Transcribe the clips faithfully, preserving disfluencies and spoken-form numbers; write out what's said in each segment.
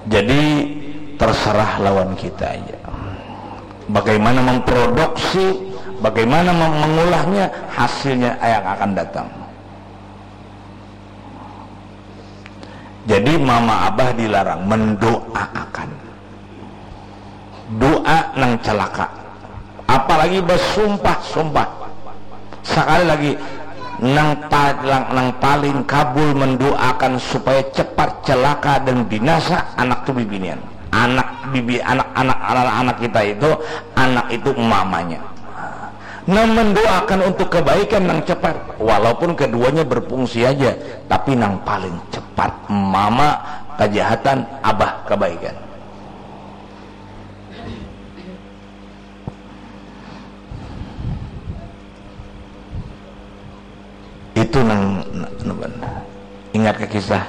Jadi terserah lawan kita aja. Bagaimana memproduksi, bagaimana mem- mengulahnya, hasilnya yang akan datang. Jadi mama abah dilarang mendoaakan. Doa nang celaka. Apalagi basumpah-sumpah. Sekali lagi, nang paling nang paling kabul mendoakan supaya cepat celaka dan binasa anak tu bibinian. Anak bibi anak anak anak anak kita itu, anak itu mamanya. Nah, mendoakan untuk kebaikan nang cepat, walaupun keduanya berfungsi aja, tapi nang paling cepat mama kejahatan, abah kebaikan. Itu nang, nang, nang ingat ke kisah.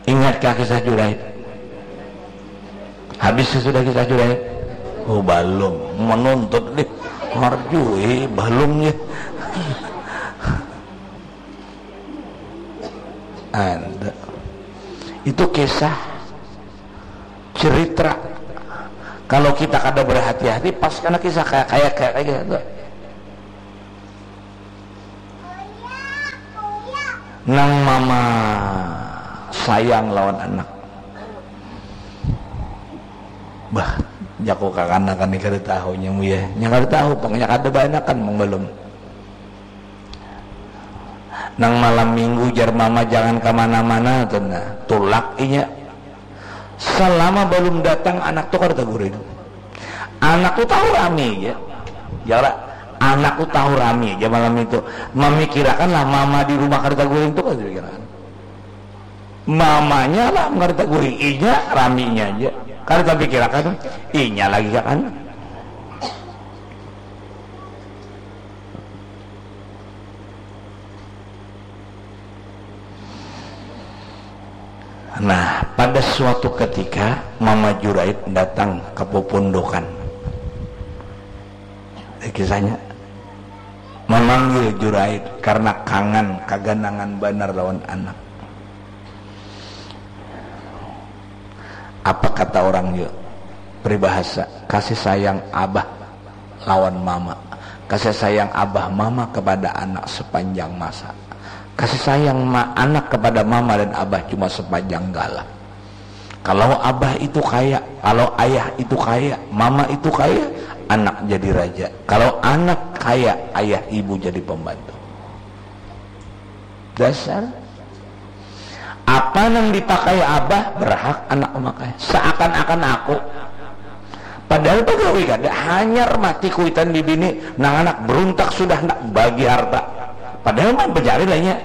Ingat ke kisah Juraid. Habis sudah kisah Juraid? Oh, balum. Menuntut deh. Marjui, balum ya. Ada. Itu kisah cerita. Kalau kita kada berhati-hati, pas kena kisah kayak kayak kayak kayak gitu. Nang mama sayang lawan anak. Bah, jaku kakanakan ni kada tahu nyamu ya. Nya kada tahu pang, nya kada baanakan pang balum. Nang malam minggu jar mama jangan kamana-mana tu nah. Tulak inya. Salama balum datang anak tu kada taguring. Anak tu tahu rami ja. Jara, anak tu tahu rami ja malam itu. Mamikirakan lah mama di rumah kada taguring tu kada dipikirakan. Mamanya lah kada taguring, inya raminya ja. Kada tapikirakan inya lagi kakana. Nah, pada suatu ketika Mama Juraid datang ke pupundukan. Eh, kisahnya memanggil Juraid karena kangen, kaganangan banar lawan anak. Apa kata orang yuk? Peribahasa, kasih sayang abah lawan mama. Kasih sayang abah mama kepada anak sepanjang masa. Kasih sayang ma- anak kepada mama dan abah cuma sepanjang galah. Kalau abah itu kaya, kalau ayah itu kaya, mama itu kaya, anak jadi raja. Kalau anak kaya, ayah ibu jadi pembantu. Dasar. Apa nang dipakai abah, berhak anak memakai. Seakan-akan aku. Padahal pegawai kada, hanyar mati kuitan di bini, nang anak beruntak sudah nak bagi harta. Padahal mah becari lainnya.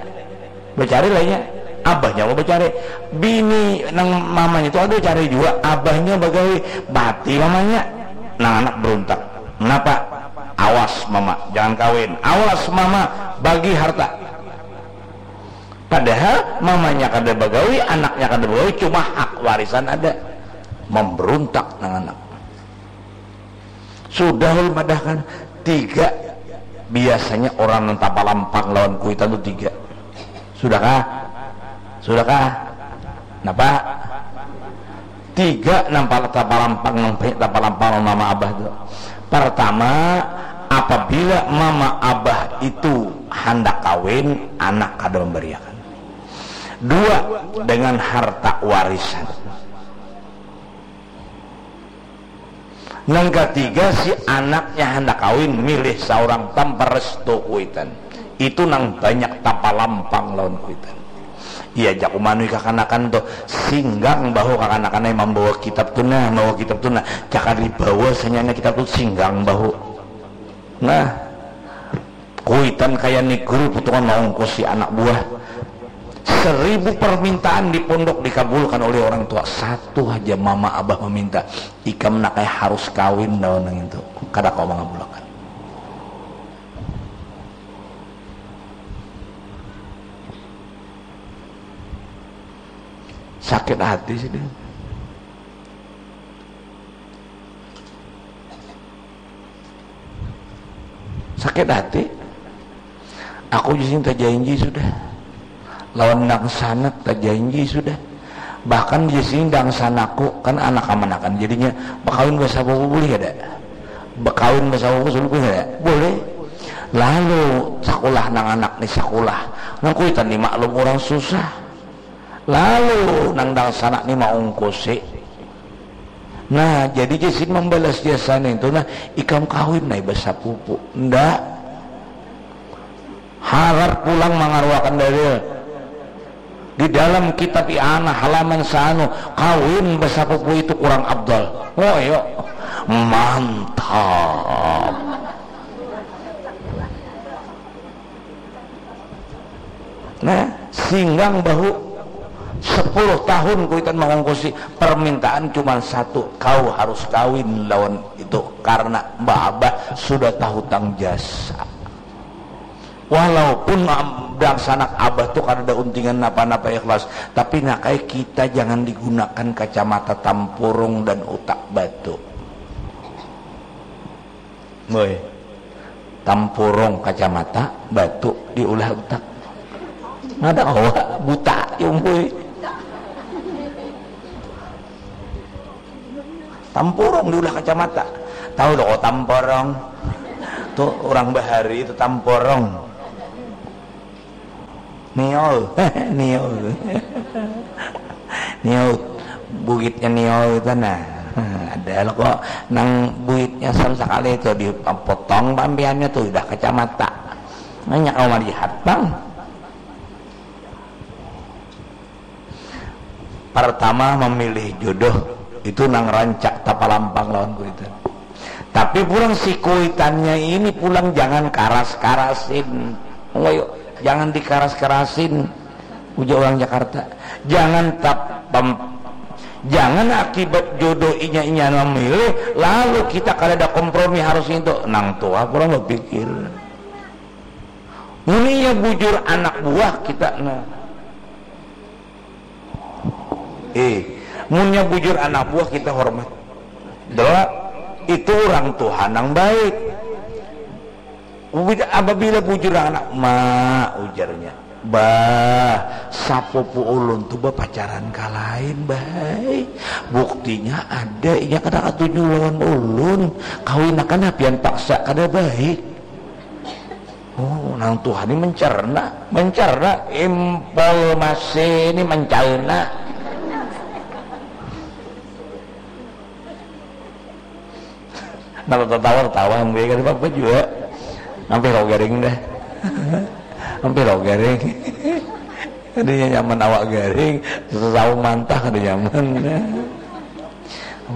Becari lainnya. Abahnya mau becari. Bini nang mamanya tu ada cari juga. Abahnya bagawi. Mati mamanya. Nang anak beruntak. Kenapa? Awas mama, jangan kawin. Awas mama, bagi harta. Padahal mamanya kada bagawi, anaknya kada bagawi, cuma hak warisan ada. Memberuntak nang anak. Sudah ulun madahkan, tiga. Biasanya orang nang tapalampang lawan kuitan tu tiga. Sudahkah? Sudahkah? Napa? Tiga nang pala- tapalampang, nang banyak tapalampang lawan mama abah tu. Pertama, apabila mama abah itu handak kawin, anak kada memberiakan. Dua, dengan harta warisan. Nang katiga, si anaknya handak kawin, milih saurang tanpa restu kuitan. Itu nang banyak tapalampang lawan kuitan. Iya, jaku manui kakanakan tu, singgang bahu kakanakan ai mambawa kitab tu nah, mambawa kitab tu nah. Cakar dibawa sanyana kitab tu, singgang bahu. Nah, kuitan kaya ni guru putungan maungkusi anak buah. Seribu permintaan di pondok dikabulkan oleh orang tua, satu haja mama abah meminta, ikam nak ai harus kawin lawan nang itu, kada kawa mangabulakan. Sakit hati sidin. Sakit hati. Aku jising tajanji sudah. Lawan nang sanak tajanji sudah. Bahkan di sini dangsanaku kan anak kamanakan, jadinya bakawin basapupu boleh kada? Bakawin basapupu boleh kada? Boleh. Lalu sakulah nang anak ni sakulah, nang kuitan ni maklum urang susah. Lalu nang dangsanak ni maungkusi. Nah, jadi jar sidin mambalas jasa nintu, nah, ikam kawin ai basapupu. Ndak. Harat pulang mangaruakan dalil. Di dalam kitab I'anah halaman saanu, kawin basapupu itu kurang afdal. Oh, iyo. Mantap. Nah, singgang bahu sepuluh tahun kuitan mangungkusi, permintaan cuma satu, kau harus kawin lawan itu karena Mbah Abah sudah tahutang jasa. Walaupun am- dangsanak Abah tu kada ada untingan napa-napa ikhlas, tapi nak ai kita jangan digunakan kacamata tampurung dan utak batu. Boy. Tampurung kacamata, batu diulah utak. Nada kawa buta, ya, boy. Tampurung diulah kacamata. Tahu lo kok tampurung? Tuh orang bahari itu tampurung. Niol, Niol. Niol, buitnya Niol itu nah. Ada lo kok nang buitnya sama sekali itu dipotong pampiannya tuh udah kacamata. Nanya kau melihat bang. Pertama memilih jodoh itu nang rancak tapalampang lawan kuitan. Tapi pulang si kuitannya ini pulang jangan karas-karasin. Ngoyo, jangan dikaras-karasin. Ujar orang Jakarta. Jangan tap pem- jangan akibat jodoh inya-inya memilih lalu kita kada ada kompromi harus itu. Nang tua kurang berpikir. Munnya bujur anak buah kita nah. Eh, munnya bujur anak buah kita hormat. Dela, itu orang Tuhan yang baik. Apabila bujur anak, ma ujarnya, bah, sapupu ulun tu bapacaran ka lain, bah. Buktinya ada, inya kada katuju lawan ulun. Kawinakan hapian paksa kada baik. Oh, nang tuha ni mencerna, mencerna informasi ni mencerna. Nang tatawa tatawa, mungkin kada apa jua. Hampir lo garing dah. Hampir lo garing. Adanya nyaman awak garing, sesau mantah kada nyaman.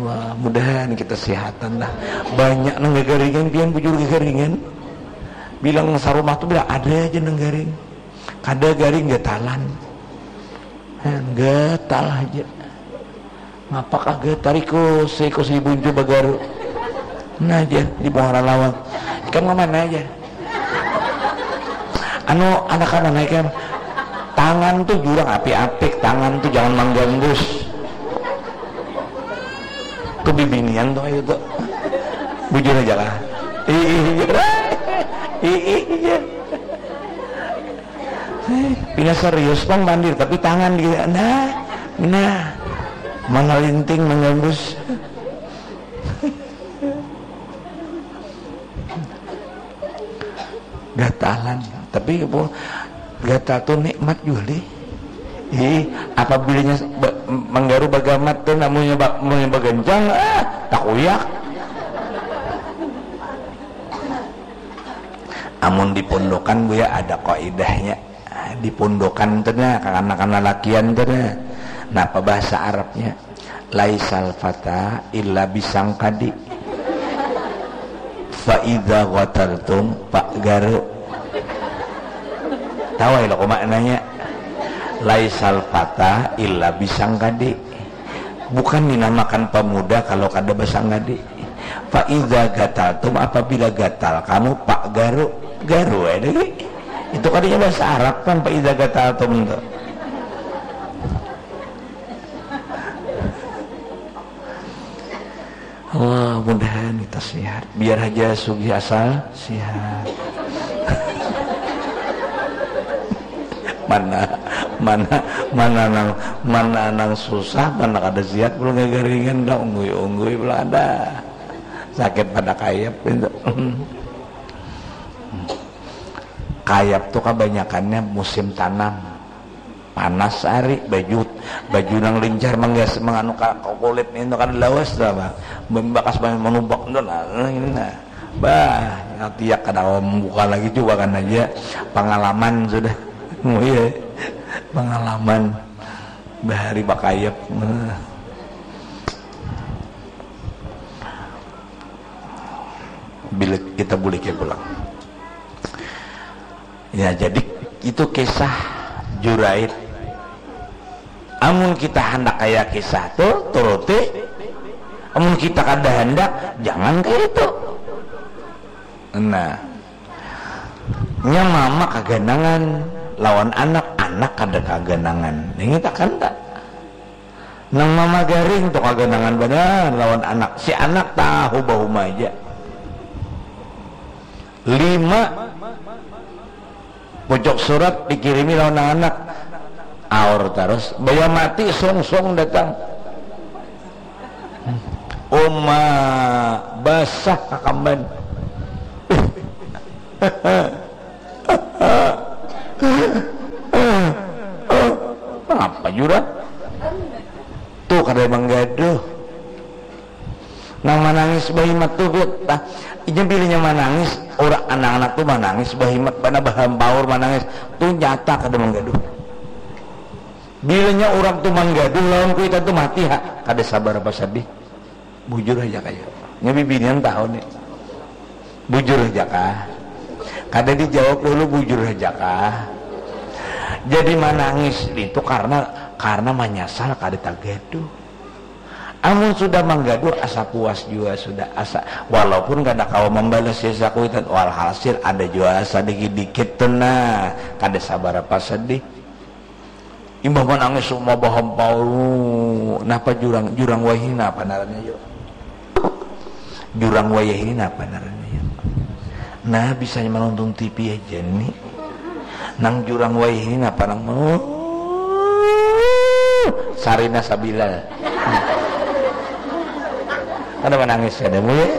Wah, mudahan kita sehatan lah. Banyak nang gagaringan, pian bujur gagaringan. Bilang sarumah tu bila ada aja nang garing. Kada garing gatalan. Heh, gatal aja. Ngapakah gatal iku, seiku si buncu bagaru. Nah aja di muara lawang. Ikam ke mana aja? Anu, anak kamu naik kan? Tangan tuh jurang apik-apik, tangan tuh jangan manggambus. Tuh bibinian tuh itu tuh. Bujur aja lah. Ih, ih, ih, ih. Eh, pina serius pang mandir tapi tangan di nah, nah. Mana linting manggambus. Gatalan. Tapi apa, gatal tu nikmat jua lih. Ih, apabila nya ba- manggaru bagamat tu, namunnya ba- munnya bagancang, ah, takuyak. Amun di pondokan buya ada kaidahnya. Di pondokan tu nah, kekanakan lalakian tu nah. Napa bahasa Arabnya? Laisal fata illa bisangkadi. Fa idza ghataltum pak garu. Tahu ya lo maknanya? Laisal fata illa bisangkadi. Bukan dinamakan pemuda kalau kada basangkadi. Fa idza gataltum, apabila gatal kamu pak garu. Garu ya lagi. Itu kadinya bahasa Arab kan fa idza gataltum tu. Allah, mudahan kita sehat. Biar aja sugih asal sehat. Mana, Mana, mana nang, mana nang susah, mana kada sihat, pulang gagaringan, dah unggui-unggui pulang ada. Sakit pada kayap itu. Kayap tuh kabanyakannya musim tanam. Panas hari, baju, baju nang lincar manggas, manganu ka, ka kulit itu kada lawas dah, bah. Bakas banyak manubak tu nah, ini nah. Bah, tiak kada kawa membuka lagi, coba kan aja. Pengalaman sudah. Oh iya. Pengalaman bahari bakayap. Nah. Bila kita bulik ya pulang. Ya, jadi itu kisah Jurait. Amun kita handak kaya kisah tu, turuti. Amun kita kada handak, jangan kaya itu. Nah, nya mama kaganangan lawan anak, anak kada kaganangan. Ningit akan tak? Nang mama garing tu kaganangan banar lawan anak. Si anak tahu bahuma aja. Lima pucuk surat dikirimi lawan nang anak. Aur tarus. Baya mati sungsung datang. Uma basah kakamban. Apa jurang? Tu kada manggaduh. Nang manangis bahimat tu, tah, inya bilanya manangis, urang anak-anak tu manangis bahimat, bana bahampaur manangis, tu nyata kada manggaduh. Bilanya urang tu manggaduh lawan kuitan tu mati ha, kada sabar apa sedih. Bujur haja kaya. Nya bibinian tahu ni. Bujur haja kah? Kada dijawab dulu, bujur haja kah? Jadi manangis itu karena, karena manyasal kada tagaduh. Amun sudah manggaduh, asa puas jua sudah, asa, walaupun kada kawa mambalas jasa kuitan, walhasil ada jua asa dikit-dikit tu nah, kada sabarapa sedih. Imbah manangis uma bahampaur, napa jurang, jurang wayahini napa ngarannya yu? Jurang wayahini napa ngarannya yu? Nah, bisanya manonton T V haja ni. Nang jurang wayahini napa nang, oh, Sarina Sabila. Kada manangis kada mu ya?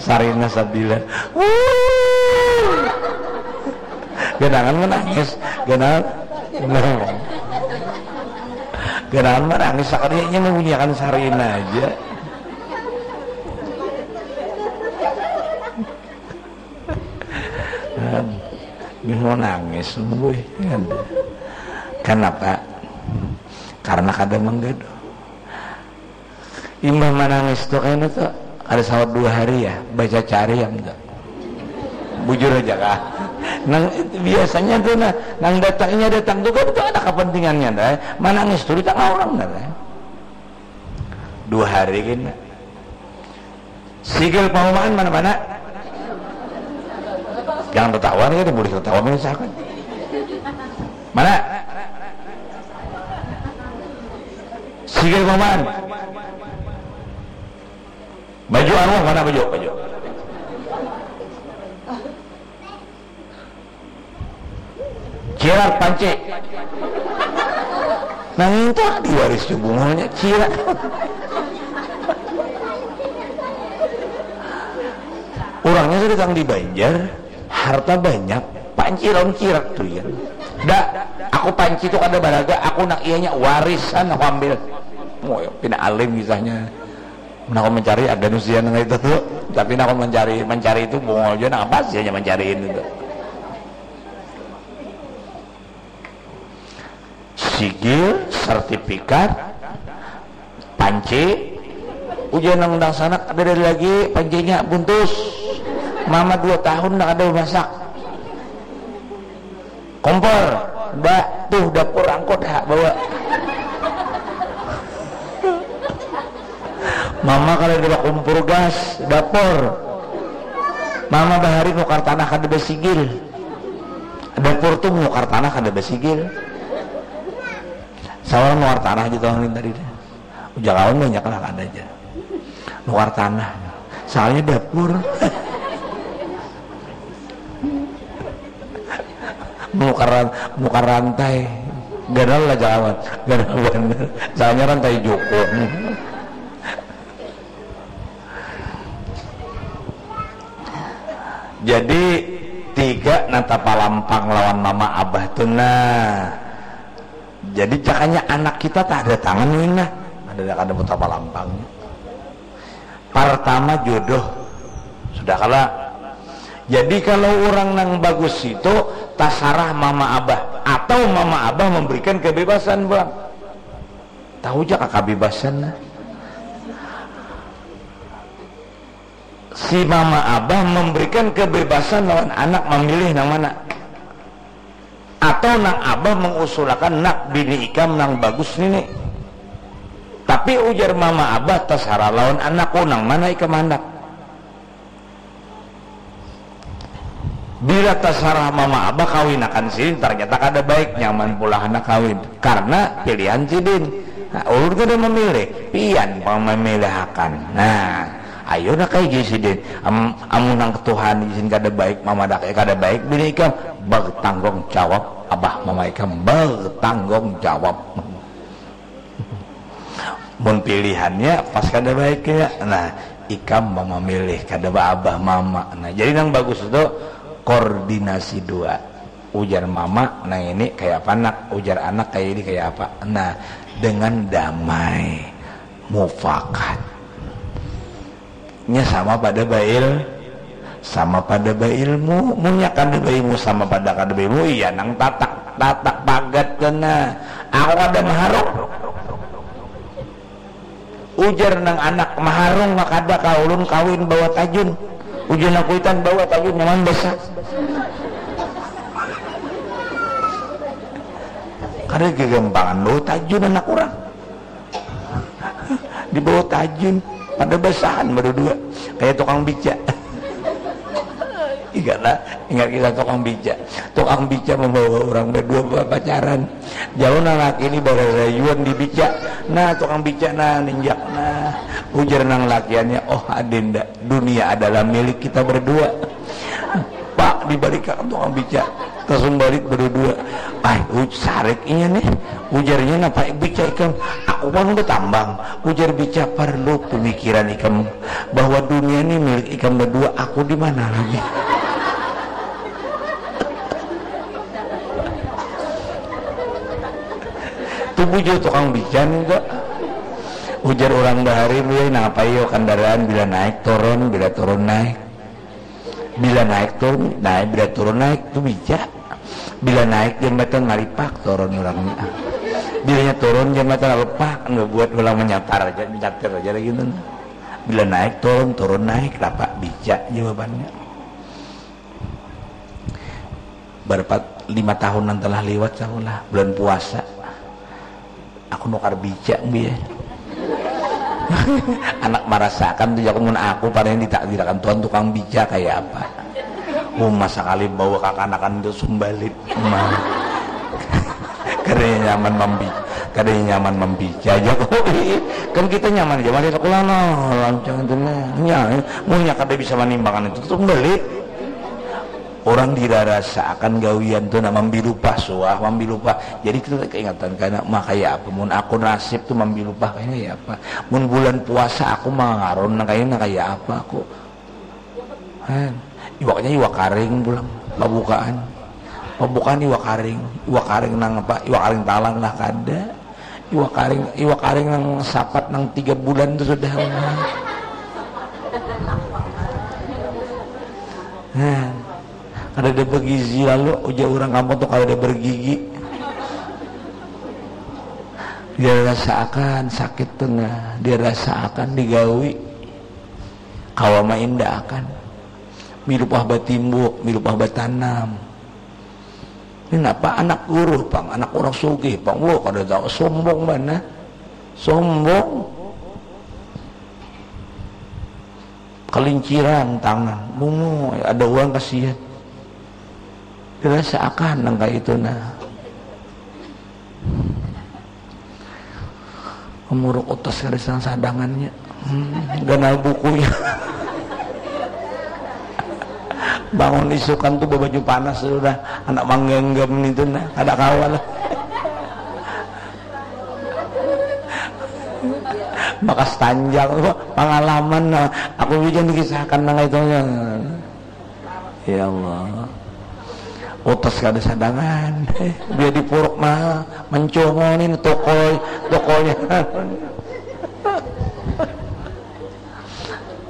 Sarina Sabila. Ganangan manangis, ganangan. Ganangan manangis sakalinya mambunyiakan Sarina aja. Aduh, mau nangis, wih. Aduh. Kanapa? Karena kada manggaduh. Imbah manangis tu kayaknya tu kada sawat dua hari ya, baca cari am tu. Bujur aja kah? Nang biasanya tu nah, nang datangnya datang tu kan tu ada kepentingannya dah. Manangis tu di tengah orang dah. Dua hari kena. Sigil pahumaan mana-mana. Jangan tertawa nih, boleh tertawa menyesakan. Mana? Sigil pahumaan. Baju arwah mana baju? Baju. Cirat panci. Nang itu diwaris tu bungulnya cirat. Orangnya sudah datang di Banjar, harta banyak, panci lawan cirat tu ya. Dak, aku panci tu kada baraga, aku nak ianya warisan aku ambil. Wah, pina alim kisahnya. Nah, aku mencari ada nusian nang itu tu, tapi nah, aku mencari, mencari itu bungul juga, nah, apa sih hanya mencari itu tu? Sigil, sertifikat, panci, ujian nang dangsanak ada dari lagi, pancinya buntus, mama dua tahun nak ada masak. Kompor, ba, tuh dapur angkut ha, bawa. Mama kada ada kompor gas, dapur. Mama bahari nukar tanah kada basigil. Dapur tuh nukar tanah kada basigil. Sawal nukar tanah aja tuh tadi deh. Ujar kawan banyak lah kada aja. Nukar tanah. Soalnya dapur. Menukar, menukar rantai. Ganal lah jangan. Ganal bener. Soalnya rantai jukung. Jadi tiga nata palampang lawan mama abah tuh nah. Jadi cakanya anak kita tak ada tangan ini nah. Ada ada kada putar palampangnya. Pertama jodoh. Sudah kala. Jadi kalau orang nang bagus itu tasarah mama abah atau mama abah memberikan kebebasan pulang. Tahu ja kebebasan nah. Si mama abah memberikan kebebasan lawan anak memilih nang mana. Atau nang abah mengusulakan nak bini ikam nang bagus nini. Tapi ujar mama abah tasarah lawan anakku nang mana ikam handak. Bila tasarah mama abah kawinakan sidin ternyata kada baik nyaman pula handak kawin karena pilihan sidin. Nah, ulun kada memilih, pian pang memilihakan. Nah, ayo nak kaiji sidin. Am, amun nang Tuhan izin kada baik mama dak kada baik bini ikam bertanggung jawab abah mama ikam bertanggung jawab. Mun pilihannya pas kada baik ya. Nah, ikam mau memilih kada baabah mama. Nah, jadi nang bagus itu koordinasi dua. Ujar mama, nah ini kayak apa nak? Ujar anak kayak ini kayak apa? Nah, dengan damai, mufakat. Nya sama pada bail sama pada bailmu. Munya kada bailmu sama pada kada bailmu iya nang tatak tatak pagat kena aku kada maharuk. Ujar nang anak maharung kada kaulun kawin bawa tajun. Ujar nang kuitan bawa tajun nyaman besa. Kada gagampangan bawa tajun anak orang. Dibawa tajun pada basahan berdua kayak tukang beca. Ingatlah, ingat kisah tukang beca. Tukang beca membawa orang berdua pacaran. Jauh nang laki ini bararayuan di beca. Nah, tukang beca nah ninjak nah. Ujar nang lakiannya, oh adinda, dunia adalah milik kita berdua. Pak dibalikan tukang beca. Tasumbalit berdua. Ai, uj sarik inya nih. Ujarnya napa bica ikam? Aku kan udah tambang. Ujar bica perlu pemikiran ikam bahwa dunia ini milik ikam berdua. Aku di mana lagi? Tubuh jauh tukang bica nih kok. Ujar orang bahari, "Wih, napa iyo kendaraan bila naik turun, bila turun naik." Bila naik turun naik, bila turun naik tu bica. Bila naik jambatan malipak turun orangnya. Bilanya turun jambatan malipak, anu buat ulang menyatar aja, menyatir aja lagi tu. Bila naik turun, turun naik, dapat bica jawabannya. Berapa lima tahunan telah liwat sahulah bulan puasa. Aku nukar bica biar anak marasakan tu jaku mun aku pada yang ditakdirakan Tuhan tukang bica kayak apa. Uma sakali bawa kakanakan tu sumbalit uma. Kada nyaman mambi kada nyaman mambica aja kok. Kan kita nyaman aja mari sekolah no lancang itu nah. Nya munya kada bisa manimbangan itu sumbalit. Orang dirarasa akan gawian tu nah mambilupah suah mambilupah. Jadi kita tak keingatan karena mah kayak apa mun aku nasib tu mambilupah kayaknya ya apa. Mun bulan puasa aku mangarun nah kayaknya kayak apa aku. Han, iwaknya iwak karing pulang pabukaan. Pabukaan iwak karing. Iwak karing nang apa? Iwak karing talang lah kada. Iwak karing iwak karing nang sapat nang tiga bulan tu sudah. Nah, kada ada bergizi lalu ujar orang kampung tu kada ada bergigi. Dia rasakan sakit tengah, dia rasakan digawi. Kawa mainda akan. Milupah batimbuk, milupah batanam. Ini napa anak guru pang, anak orang sugih pang. Wah, kada tahu sombong mana. Sombong. Kelinciran tangan. Bungo, ada uang kasihan. Dirasa akan nang kayak itu nah. Kemuruk utas garisan sadangannya. Hmm, ganal bukunya. Bangun isukan tu babaju panas sudah, anak manggenggam nitu nah, kada kawa lah. Bakas tanjang tu pangalaman nah, aku hujan dikisahkan nang itu. Ya Allah, utas kada sadangan. Biar dipuruk mah, mencongol ni tokol, tokolnya.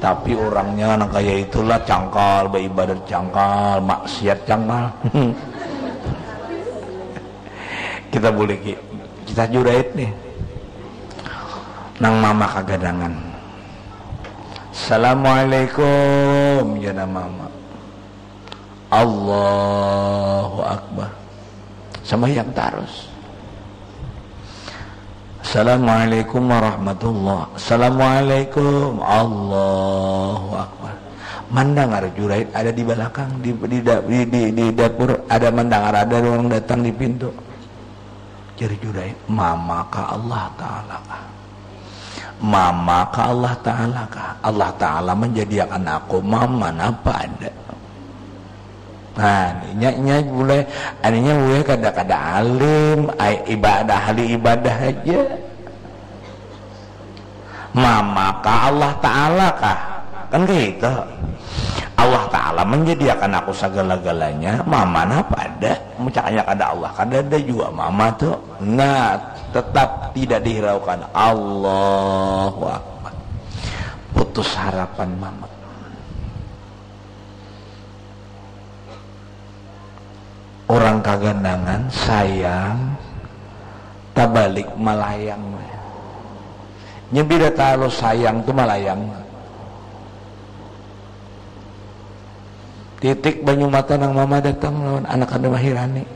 Tapi orangnya nang kaya itulah, cangkal baibadat, cangkal maksiat, cangkal. Kita buliki, kita Juraid nih. Nang mama kagadangan. Assalamualaikum, jana mama. Allahu Akbar. Sambahyang tarus. Assalamualaikum warahmatullah. Assalamualaikum. Allahu Akbar. Mandangar Juraid ada di balakang, di, di, da- di, di, di dapur, ada mandangar ada urang datang di pintu. Jar Juraid, "Mama kah Allah Ta'ala kah? Mama kah Allah Ta'ala kah? Allah Ta'ala manjadiakan aku mama napa ada?" Nah, inya, inya mulai, aninya mulai kada, kada alim, ai, ibadah, ahli ibadah aja. Mama kah Allah Ta'ala kah? Kan kaya itu. Allah Ta'ala manjadiakan aku sagala-galanya, mama napa ada? Mucaknya kada Allah, kada ada jua mama tu. Nah, tetap tidak dihiraukan. Allahu Akbar. Putus harapan mama. Orang kaganangan sayang, tabalik malayang. Nya bila talu sayang tu malayang. Titik banyu mata nang mama datang lawan anak kada mahirani.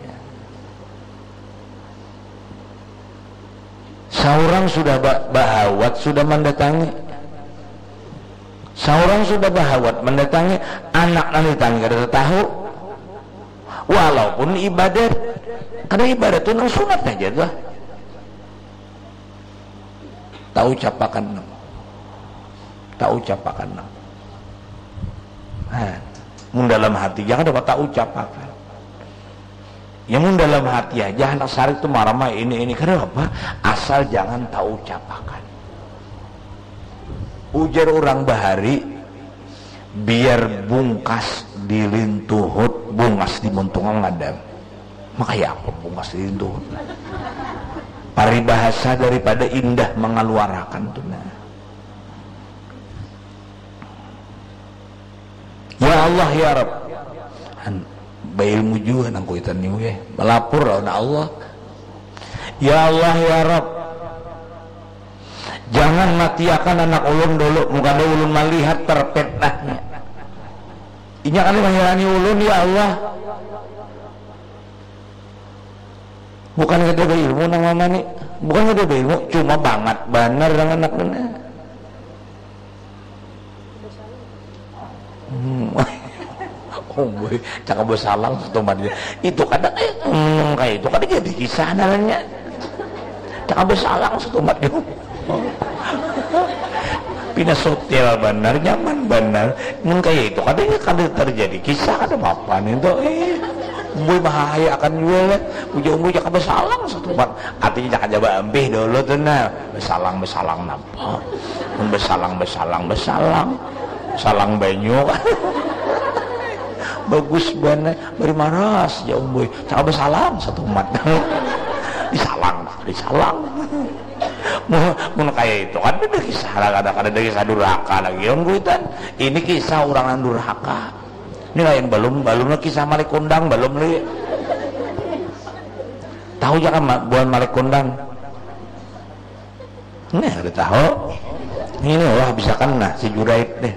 Saurang sudah ba- bahawat sudah mandatangi. Saurang sudah bahawat mandatangi, anak nang ditangi kada tatahu. Walaupun ibadat, kada ibadat tu nang sunat aja tuh. Taucapakan nang. Taucapakan nang. Nah, mun dalam hati jangan dapat taucapakan. Ya mun dalam hati aja anak sarik tu marah mah ini ini kada apa, asal jangan taucapakan. Ujar orang bahari, biar bungkas di lintuhut, bungas di muntung ngadam. Makanya apa bungas di lintuhut? Paribahasa daripada indah mengeluarakan tu nah. Ya Allah ya Rabb. Han, bailmu jua nang kuitan ni weh. Malapur lawan Allah. Ya Allah ya Rabb. Jangan matiakan anak ulun dulu, mun kada ulun malihat terpetnahnya. Inya kada mahirani ulun ya Allah. Bukan kada bailmu nang mama ni, bukan kada bailmu, cuma bangat banar nang anak ni. Hmm. Umbui, cakap basalang satumat. Itu kada kaya, hmm, kaya itu kada jadi kisah ngarannya. Cakap basalang satumat. Pina sutil banar, nyaman banar. Mun kaya itu kada, kada terjadi kisah, kada apa-apa nih tuh. Eh, umbui bahaya akan jua lah. Ujar umbui cakap basalang satumat. Artinya cakap jaba ampih dulu tuh nah. Basalang, basalang napa? Mun basalang, basalang, basalang. Salang banyu. Bagus banar. Bari maras, jar umbui. Cakap basalang satumat. Disalang, disalang. Mun, mun kaya itu kan kada kisah, kada, kada ada kisah durhaka lagi. Yang kuitan, ini kisah orang nang durhaka. Ini lain, balum, balum lagi kisah Malik Kundang, balum lagi. Tahu ja kan ma-, buhan Malik Kundang? Nah, kada tahu. Ini wah bisa kan nah si Juraid deh.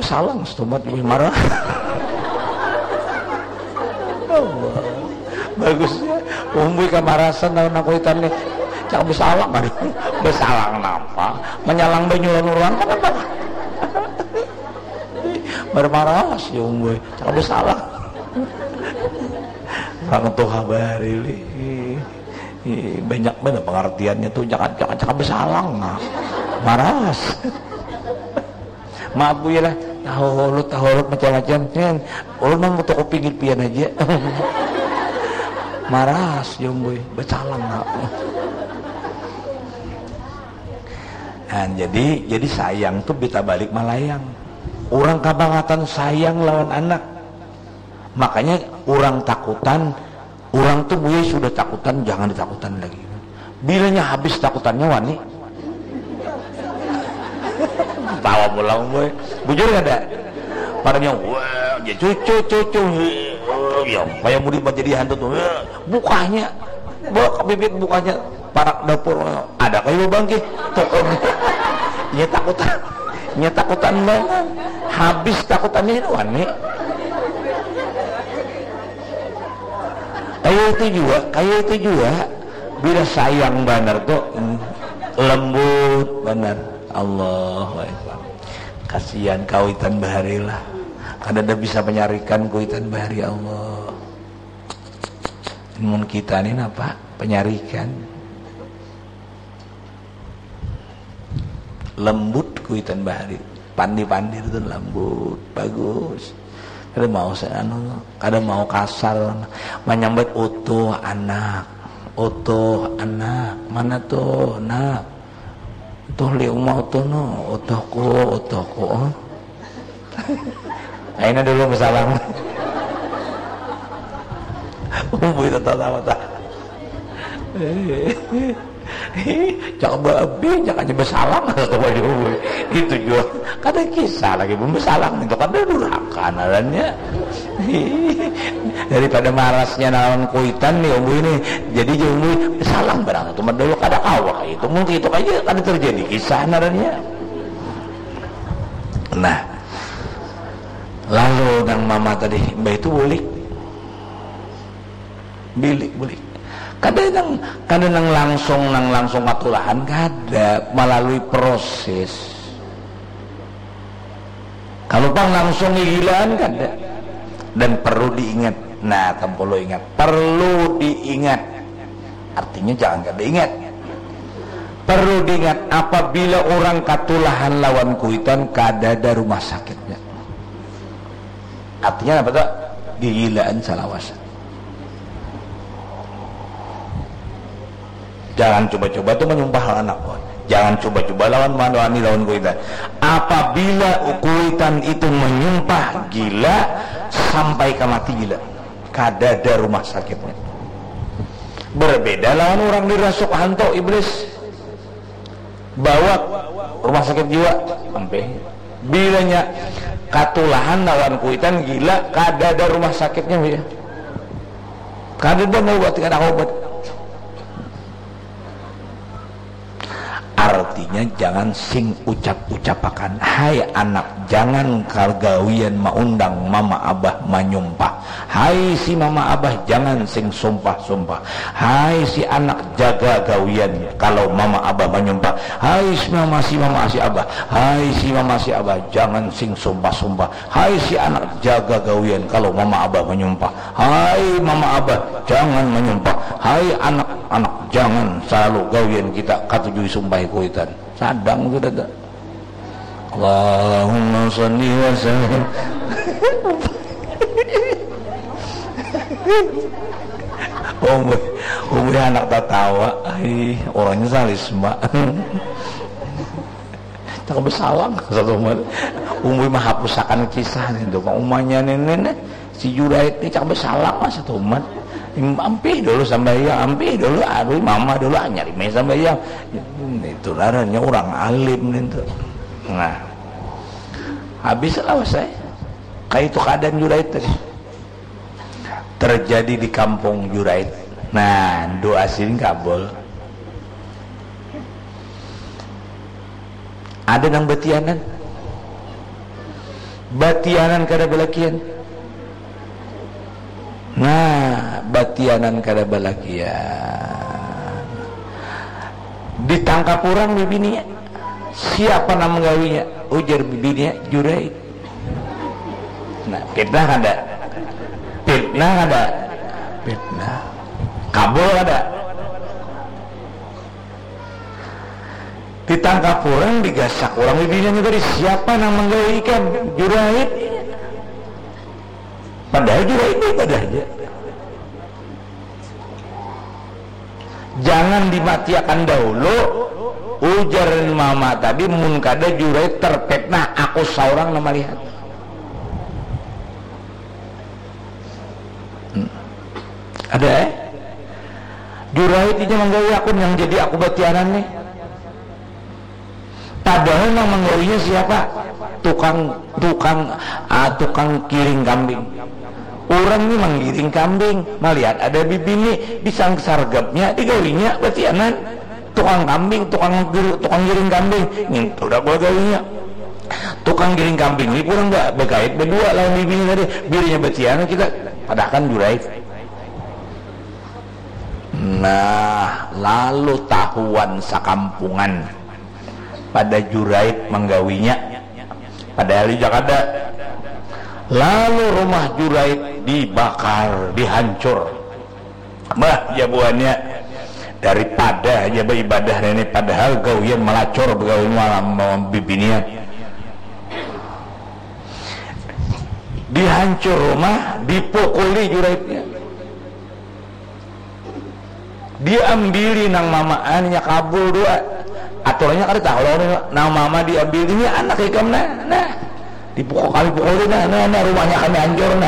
Basalang satumat lebih marah. Allah. Bagusnya umbui kamarasan lawan nang kuitan nih. Cakap basalang, aduh. Basalang napa? Manyalang banyu lawan urang kan apa? Marah-marah si umbui. Cakap basalang. Orang tuha bahari lih. Ih, banyak banar pengertiannya tuh. Jangan, jangan, jangan basalang nah. Maras. Maaf, Bu, ya lah. Tahulut, tahulut, macam-macam. Kan, ulun mah mau toko pinggir pian aja. Maras, Jomboy. Bacalang, nak. Nah, jadi, jadi sayang tuh bita balik malayang. Orang kabangatan sayang lawan anak. Makanya orang takutan, orang tuh, Bu, ya, sudah takutan, jangan ditakutan lagi. Bilanya habis takutannya, wani. Tawa pulang, boy. Bujur kada? Padanya, wah, dia cucu, cucu. Ya, kayak murid menjadi hantu tuh. Wah, bukanya. Buk, bibit bukanya. Parak dapur. Ada kayu bangkit. Tuh, nya takutan. Nya takutan banget. Habis takutannya ini, wani. Kayak itu juga, kayak itu juga. Bila sayang banar tuh, mm, lembut banar. Allahu Akbar. Kasihan kuitan bahari lah. Kada ada bisa menyarikan kuitan bahari, Allah. Mun kita ni napa? Penyarikan. Lembut kuitan bahari. Pandi-pandi tu lembut, bagus. Kada mau sa-, anu, kada mau kasar. Manyambat utuh anak. Utuh anak. Mana tuh, nak? Tuh, li uma utuh no. Utuhku, utuhku. Oh. Aina dulu basalam. Umbui tatawa-tawa. Cak babi, cak aja basalam, kata Umbui. Itu jua. Kada kisah lagi, mun basalam itu kada durhaka ngarannya. Daripada marasnya lawan kuitan nih, Umbui nih. Jadi, jar Umbui, basalam barang itu mah dulu, kada kawa itu. Mungkin itu aja kada terjadi kisah ngarannya. Nah, lalu nang mama tadi, mbah itu bulik. Bilik, bulik. Kada nang, kada nang langsung, nang langsung katulahan, kada. Melalui proses. Kalau pang langsung gigilaan, kada. Dan perlu diingat. Nah, tampulu ingat. Perlu diingat. Artinya jangan kada ingat. Perlu diingat, apabila orang katulahan lawan kuitan, kadada rumah sakitnya. Artinya apa tuh? Gigilaan salawasan. Jangan coba-coba tuh menyumpah lawan anak. Jangan coba-coba lawan mandoani lawan kuitan. Apabila kuitan itu menyumpah gila, sampai ke mati gila. Kadada rumah sakitnya. Berbeda lawan orang dirasuk hantu iblis. Bawa rumah sakit jiwa. Ampih. Bilanya katulahan lawan kuitan gila, kadada rumah sakitnya, ya. Kadada mau obat, kada obat. Artinya, jangan sing ucap-ucapakan. Hai anak, jangan kagawian maundang mama abah manyumpah. Hai si mama abah, jangan sing sumpah-sumpah. Hai si anak, jaga gawian kalau mama abah manyumpah. Hai si mama, si mama, si abah. Hai si mama, si abah, jangan sing sumpah-sumpah. Hai si anak, jaga gawian kalau mama abah manyumpah. Hai mama abah, jangan manyumpah. Hai anak, anak, jangan salalu gawian kita katujui sumpah kuitan. Sadang sudah tak. Allahumma salli wa sallim. Umui, umui anak tatawa. Ai, orangnya salisma. Cak basalang satu umat. Umui mahapusakan kisah nih tuh. Umanya nenek, nenek. Si Juraid ni cak basalang lah satumat. Ampih dulu sambayang, ampih dulu, aduh mama dulu, anyar imai sambayang. Itu ngarannya urang alim nintu. Nah. Habis lah usai. Kaitu keadaan Juraid tadi. Terjadi di kampung Juraid. Nah, doa sidin kabul. Ada nang batianan. Batianan kada balakian. Nah, batianan kada balakian. Ditangkap urang bibininya. Siapa nang manggawinya? Ujar bibininya, Juraid. Nah, fitnah kada? Fitnah kada? Fitnah. Kabul kada? Ditangkap orang, digasak orang bibininya tadi, siapa nang manggawi ikam? Juraid. Padahal Juraid ni ibadah aja. Jangan dimatiakan dahulu, ujar mama tadi, mun kada Juraid terpetnah, aku saurang nang malihat. Hmm. Ada eh? Juraid inya manggawi aku, nang jadi aku batianan nih. Padahal nang manggawinya siapa? Tukang, tukang, ah, tukang kiring kambing. Urang ni manggiring kambing, malihat ada bibini, disang-, sargapnya, digawinya batianan. Tukang kambing, tukang gir-, tukang giring kambing, ngintu dah gua gawinya. Tukang giring kambing ni kurang ba-, bagait badua lawan bibini tadi. Bininya batianan, kita padahkan Juraid. Nah, lalu tahuan sakampungan pada Juraid manggawinya. Padahal inya kada. Lalu rumah Juraid dibakar, dihancur. Bah, jar buhannya, daripada aja baibadah nini, padahal gawian malacur bagawi malam, malam bibinian. Dihancur rumah, dipukuli Juraidnya. Diambili nang mamaan, inya kabul dua. Aturannya kada tahu lawan nang mama diambili, ini anak ikam nah, nah. Dipukul, kami pukuli nah, nah, nah, rumahnya kami hancur nah.